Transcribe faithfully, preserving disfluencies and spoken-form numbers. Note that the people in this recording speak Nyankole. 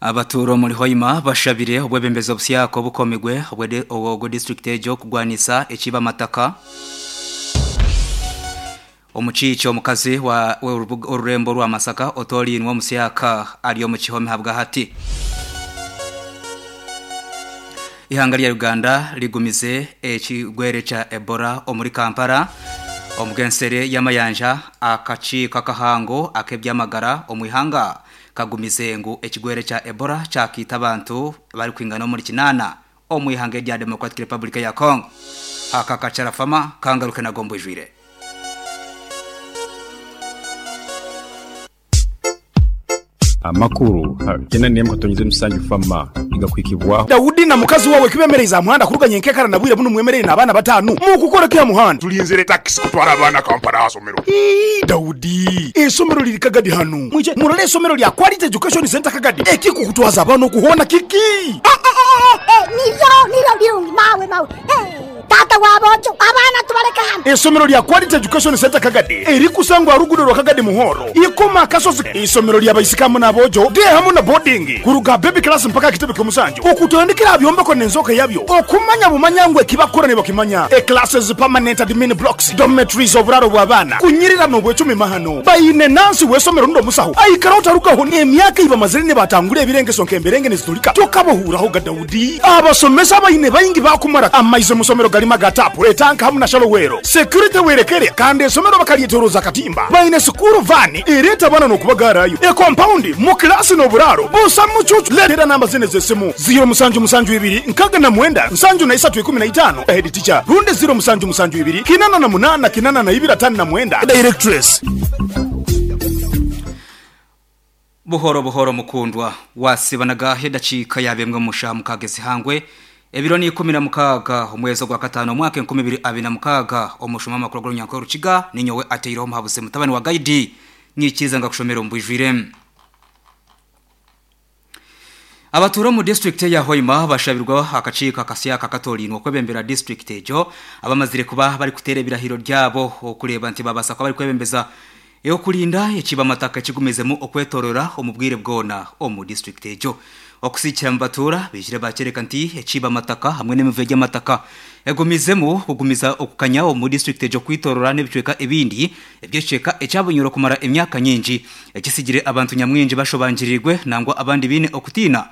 Abaturo muri Hoima bashabire obwebembezi obusyako bukomigwe obwe ogwo district ejo kugwanisa ekiba mataka. Omuchicho omukazi wa orurembo rwa Masaka otolinwa omusyaka ali omu kihome habwa hati. Ihanga lya Uganda ligumize ekigwere kya Ebola omuri Kampala. Omugensere y'amayanja akakiiko akahango ak'ebyamagara omu ihanga kagumize ngu ekigwere kya Ebola kyakiita abantu bari kwingana omuri kinaana omu ihanga erya Democratic Republic ya Congo. Aka kacarafama kangaruke nago mbwijwire. Amakuru kena niyemko tonyize musanju fama igakwikibwa Daudi na mukazi wawe kibemereza muhanda kuruganye nkekara na bwire buno mwemerere n'abana batanu mu kukora kya muhanda tulinzire taxi kutwara abana Kampala asomero. Ii Daudi esomero liri Kagadi hano mwije murole esomero lya Quality Education Center Kagadi ekikukutwaza abana okuhona kiki nivyo nivyo birungi mawe mawe tata wabojo abana tubareka hano. Esomero lya Quality Education Center Kagadi erikusangwa rugudo rwa Kagadi Muhoro ikoma kasozi. Isomero lya baisikamu nabojo de hamu na boarding kuruga baby class mpaka kitebe kyomusanju okutandikira byombeko nenzoka yabyo okumanya bumanyangwe kibakora ne bakimanya e classes permanent admin blocks dormitories oburaro bw'abana kunyirira no bwecumi mahano bayine nansi wesomero ndo musaho aikara utarukaho emyaka iba mazire ne batangure ebirenge sonke emberenge nezitulika tokabohuraho ga Daudi abasomesa bayine bayingi bakumara amaize musomero galima gatapu etanka hamu na shalowero security werekere kandi esomero bakalietoroza katimba bayine sukuru vani ireta bana no kubagarayo e compound mu class no buraro busa mucucu letera namba zine zesimu zero musanju musanju ibiri nkaga na mwenda nsanju na isatu ikumi na itano head teacher runde zero musanju musanju ibiri kinana na munana kinana na ibira tano na mwenda directress. Buhoro buhoro mukundwa wasibanaga hedachika yabemwe musha mukagezi hangwe ebiro ni ikumi na mukaga omwezi gwa katano mwaka enkumi ibiri abiri na mukaga omushuma makuru gwa Nyankore Rukiga ninyowe ateiro muhabuse mutabani wa guide nyikiza ngakushomera mbwijwire. Abatura mu district ya Hoima bashabirwa akacika akasya katolinwa kwebembera district ejo abamazire kuba bari kutere birahiro ryabo okureba nti babasa kwa bari kwebembeza yo kulinda ekiba mataka kigumezemu okwetorora omubwire bwona omu district ejo okusikira mbatura bijire bakereka nti ekiba mataka hamwe n'emivuyo y'amataka egumizemu kugumiza okukanya omu district ejo kwitorora n'ebicweka ebindi ebyeceka ekyabunyuro kumara emyaka nyingi ekisigire abantu nyamwingi bashobangirirwe nangwa abandi bine okutina